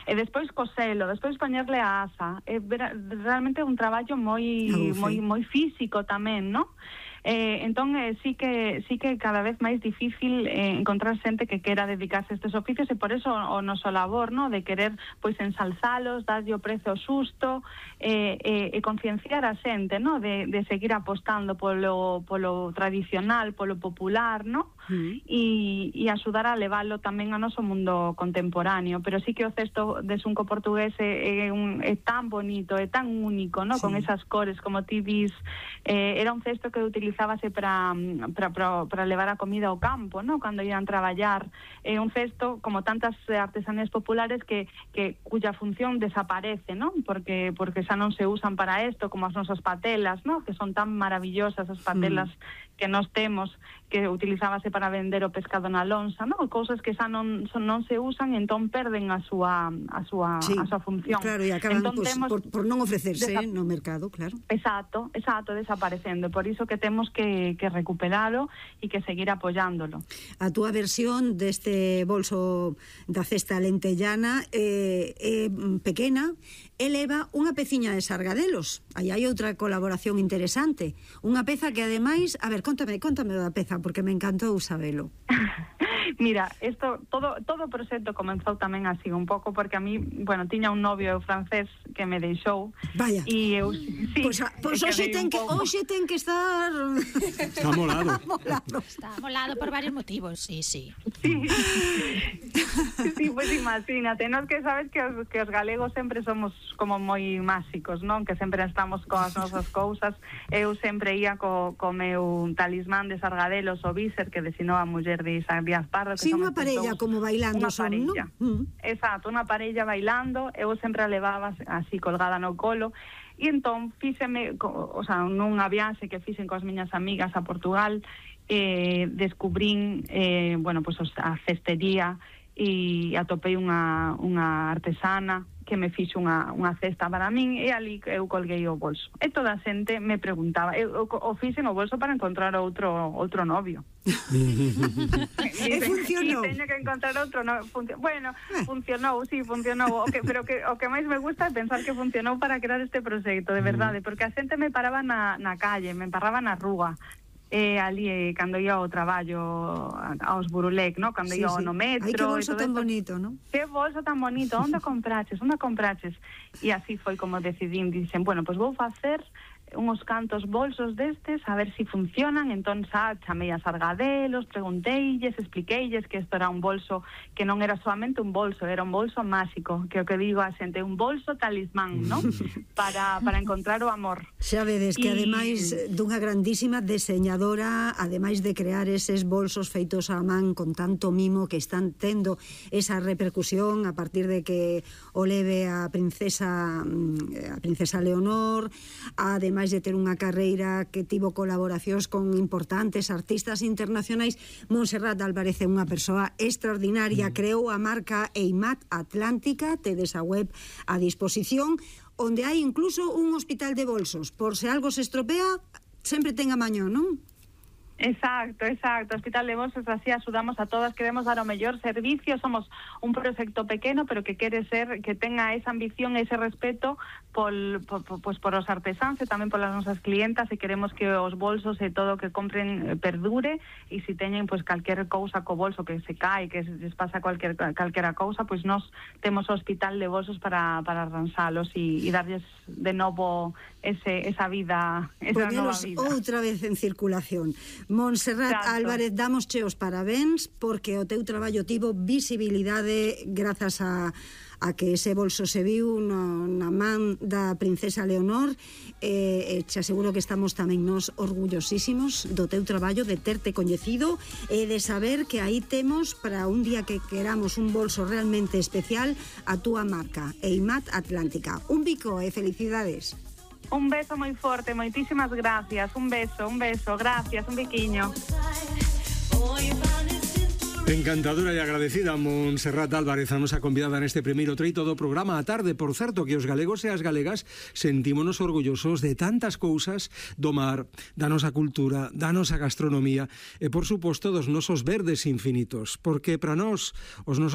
E despois coselo, despois poñerle a asa. É realmente un traballo moi físico tamén, non? Entón sí que cada vez máis difícil encontrar xente que quera dedicarse a estes oficios, e por eso o noso labor, no, de querer pois ensalzalos, darlle o prezo xusto, e concienciar a xente, no, de seguir apostando polo tradicional, polo popular, no? E axudar a leválo tamén ao noso mundo contemporáneo. Pero sí que o cesto de xunco portugués é tan bonito, é tan único, no? Con esas cores, como ti dis, era un cesto que utilizábase para levar a comida ao campo, no? Cando iban traballar. É un cesto, como tantas artesanías populares, cuya función desaparece, no? Porque xa non se usan para isto, como as nosas patelas, no? Que son tan maravillosas as patelas que nós temos, que utilizábase para vender o pescado na lonxa, no? Cousas que xa non se usan, entón perden a súa función. Claro, e acaban por non ofrecerse no mercado, claro. Exacto, desaparecendo. Por iso que temos que recuperalo e que seguir apoiándolo. A túa versión deste bolso da cesta lentellana é pequena, eleva unha peciña de sargadelos. Aí hai outra colaboración interesante. Unha peza que, ademais, a ver, contame da peza, porque me encantou sabelo. Mira, todo o proxecto comenzou tamén así un pouco porque a mí, tiña un novio francés que me deixou. Vaya. E eu Pois hoxe ten que estar Está molado. Está molado por varios motivos, sí. Sí, pois imagínate, nós que sabes que os galegos sempre somos como moi máxicos, non? Que sempre estamos coas nosas cousas. Eu sempre ia co meu talismán de sargadelos, o Víser, que desinou a muller de Isaac Díaz Pardo. Sí, unha parella como bailando son, non? Exacto, unha parella bailando. Eu sempre a levaba así colgada no colo. E entón fíxeme, nunha viaxe que fixen coas miñas amigas a Portugal, descubrín a cestería e atopei unha artesana que me fixo unha cesta para min, e ali eu colguei o bolso. E toda a xente me preguntaba, o fixen o bolso para encontrar outro novio. E funcionou. E teño que encontrar outro novio. Funcionou. Pero o que máis me gusta é pensar que funcionou para crear este proxecto, de verdade, porque a xente me paraba na calle, me paraba na rúa. Ali cando ia ao traballo aos Burulec, no? Cando ia no metro. Ai, que bolso tan bonito, non? Que bolso tan bonito, onde compraches? E así foi como decidín, dixen, pois vou facer uns cantos bolsos destes, a ver se funcionan. Entón chamei a sargadelos, pregunteilles, expliqueilles que isto era un bolso que non era solamente un bolso, era un bolso máxico, que o que digo a xente, un bolso talismán, non? Para encontrar o amor. Xa vedes que ademais dunha grandísima deseñadora, ademais de crear eses bolsos feitos á man con tanto mimo, que están tendo esa repercusión a partir de que o leve a princesa Leonor, ademais de ter unha carreira que tivo colaboracións con importantes artistas internacionais. Montserrat Álvarez é unha persoa extraordinaria, creou a marca EIMAT Atlántica, tedes a web a disposición, onde hai incluso un hospital de bolsos, por se algo se estropea, sempre ten a maño, non? Exacto, Hospital de Bolsos, así axudamos a todas, queremos dar o mellor servicio, somos un proxecto pequeno, pero que quere ser, que tenga esa ambición e ese respeto por os artesáns e tamén polas nosas clientas, e queremos que os bolsos e todo o que compren perdure, e se teñen calquer cousa co bolso que se cae, que les pasa calquera cousa, nós temos o Hospital de Bolsos para arranxalos e darlles de novo esa vida, esa nova vida. Outra vez en circulación. Montserrat Álvarez, damosche os parabéns porque o teu traballo tivo visibilidade grazas a que ese bolso se viu na man da princesa Leonor, e te aseguro que estamos tamén nos orgullosísimos do teu traballo, de terte coñecido e de saber que aí temos para un día que queramos un bolso realmente especial a túa marca, EIMAT Atlántica. Un bico e felicidades. Un beso moi forte, moitísimas gracias. Un beso, gracias, un biquiño. Encantadora e agradecida Montserrat Álvarez, a nosa convidada neste primeiro treito do programa a tarde. Por certo, que os galegos e as galegas sentímonos orgullosos de tantas cousas do mar, da nosa cultura, da nosa gastronomía e, por suposto, dos nosos verdes infinitos, porque para nós os nosos